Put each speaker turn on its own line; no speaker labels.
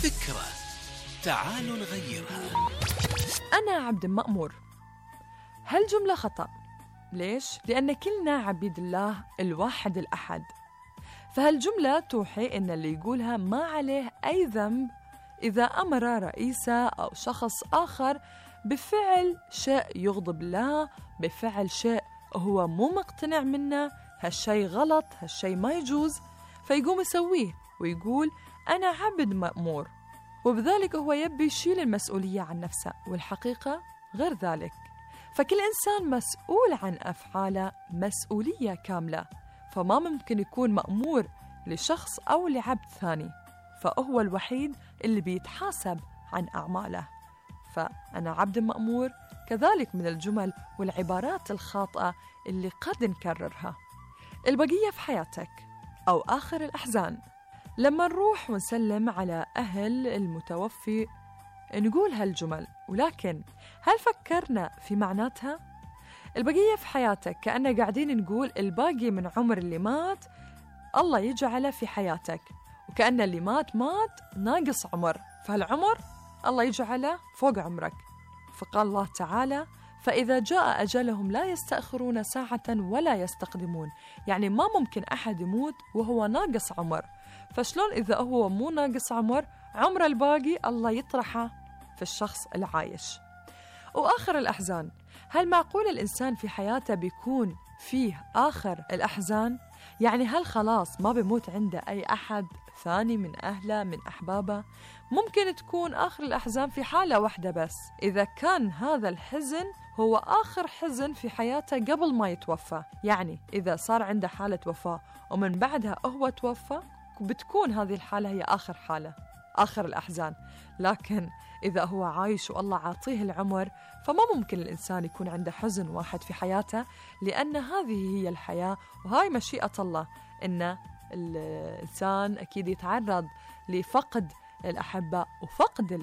فكرة تعالوا نغيرها.
أنا عبد المأمور. هالجملة خطأ. ليش؟ لأن كلنا عبيد الله الواحد الأحد، فهالجملة توحي إن اللي يقولها ما عليه أي ذنب إذا أمر رئيسه أو شخص آخر بفعل شيء يغضب الله، بفعل شيء هو مو مقتنع منه، هالشي غلط، هالشي ما يجوز، فيقوم يسويه ويقول أنا عبد مأمور، وبذلك هو يبي يشيل المسؤولية عن نفسه، والحقيقة غير ذلك. فكل إنسان مسؤول عن أفعاله مسؤولية كاملة، فما ممكن يكون مأمور لشخص أو لعبد ثاني، فهو الوحيد اللي بيتحاسب عن أعماله. فأنا عبد مأمور كذلك من الجمل والعبارات الخاطئة اللي قد نكررها. البقية في حياتك أو آخر الأحزان. لما نروح ونسلم على أهل المتوفي نقول هالجمل، ولكن هل فكرنا في معناتها؟ البقية في حياتك كأننا قاعدين نقول الباقي من عمر اللي مات الله يجعله في حياتك، وكأن اللي مات ناقص عمر، فهالعمر الله يجعله فوق عمرك. فقال الله تعالى فإذا جاء أجلهم لا يستأخرون ساعة ولا يستقدمون، يعني ما ممكن أحد يموت وهو ناقص عمر، فشلون إذا هو مو ناقص عمر الباقي الله يطرحه في الشخص العايش. وآخر الأحزان، هل معقول الإنسان في حياته بيكون فيه آخر الأحزان؟ يعني هل خلاص ما بيموت عنده أي أحد ثاني من أهله من أحبابه؟ ممكن تكون آخر الأحزان في حالة واحدة بس، إذا كان هذا الحزن هو آخر حزن في حياته قبل ما يتوفى، يعني إذا صار عنده حالة وفاة ومن بعدها هو توفى بتكون هذه الحالة هي آخر الأحزان. لكن إذا هو عايش والله عاطيه العمر فما ممكن الإنسان يكون عنده حزن واحد في حياته، لأن هذه هي الحياة وهاي مشيئة الله، إن الإنسان أكيد يتعرض لفقد الأحبة وفقد